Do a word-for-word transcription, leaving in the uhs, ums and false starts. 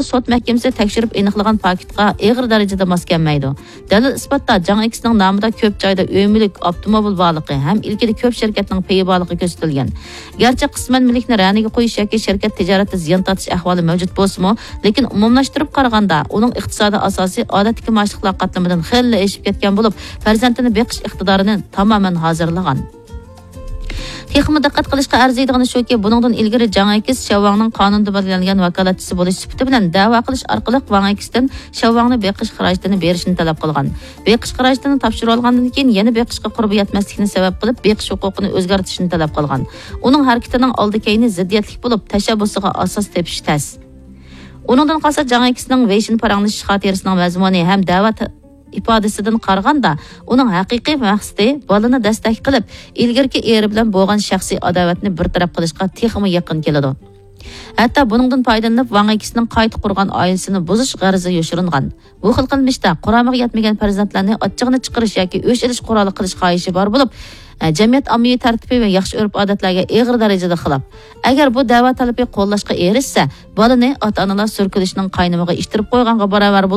سوت مەھكىمىسى تەكشۈرۈپ ئېنىقلىغان پاكىتقا ئېغىر دەرىجىدە ماس كەلمەيدۇ. دەلىل ئىسپاتتا جاڭ ئېكسنىڭ نامىدا كۆپ جايدا ئۆي مۈلۈك، ئاپتوموبىل بارلىقى ھەم ئىلكىدە كۆپ شىركەتنىڭ پېيى بارلىقى كۆرسىتىلگەن. گەرچە قىسمەن مۈلۈكنى رەنىگە قويۇش ياكى شىركەت تىجارەتتە زىيان تارتىش ئەھۋالى مەۋجۇت بولسىمۇ، لېكىن ئومۇملاشتۇرۇپ قارىغاندا، ئۇنىڭ ئىقتىسادىي ئاساسى ئادەتتىكى مائاشلىقلار قاتلىمىدىن خېلىلا ئېشىپ كەتكەن بولۇپ، پەرزەنتىنى بېقىش ئىقتىدارىنى تامامەن ھازىرلىغان. تېخىمۇ دىققەت قىلىشقا ئەرزىيدىغىنى شۇكى، بۇنىڭدىن ئىلگىرى جاڭ ئېكس شياۋاڭنىڭ قانۇندا بەلگىلەنگەن ۋاكالەتچىسى بولۇش سۈپىتى بىلەن دەۋا قىلىش ئارقىلىق ۋاڭ ئېكستىن شياۋاڭنى بېقىش خىراجىتىنى بېرىشنى تەلەپ قىلغان. بېقىش خىراجىتىنى تاپشۇرۇۋالغاندىن كېيىن يەنە بېقىشقا قۇربى يەتمەسلىكىنى سەۋەب قىلىپ، بېقىش ھوقۇقىنى ئۆزگەرتىشنى تەلەپ قىلغان. ئۇنىڭ ھەرىكىتىنىڭ ئالدى كەينى زىددىيەتلىك بولۇپ، تەشەببۇسىغا ئاساس تېپىش تەس. ئۇنىڭدىن قالسا، جاڭ ئېكسنىڭ ۋېيشىن پاراڭلىشىش خاتىرىسىنىڭ مەزمۇنى ھەم دەۋا ت-، ئىپادىسىدىن قارىغاندا، ئۇنىڭ ھەقىقىي مەقسىتى بالىنى دەستەك قىلىپ، ئىلگىرىكى ئېرى بىلەن بولغان شەخسىي ئاداۋەتنى بىر تەرەپ قىلىشقا تېخىمۇ يېقىن كېلىدۇ. ھەتتا بۇنىڭدىن پايدىلىنىپ، ۋاڭ ئېكسنىڭ قايتا قۇرغان ئائىلىسىنى بۇزۇش غەرىزى يوشۇرۇنغان. بۇ خىل قىلمىشتا قۇرامىغا يەتمىگەن پەرزەنتلەرنى ئاچچىقىنى چىقىرىش ياكى ئۆچ ئېلىش قورالى قىلىش خاھىشى بار بولۇپ، ئە، جەمئىيەت ئاممىۋى تەرتىپى ۋە ياخشى ئۆرپ-ئادەتلەرگە ئېغىر دەرىجىدە خىلاپ. ئەگەر بۇ دەۋا تەلىپى قوللاشقا ئېرىشسە، بالىنى ئاتا-ئانىلار سۈركىلىشنىڭ قاينىمىغا ئىتتىرىپ قويغانغا باراۋەر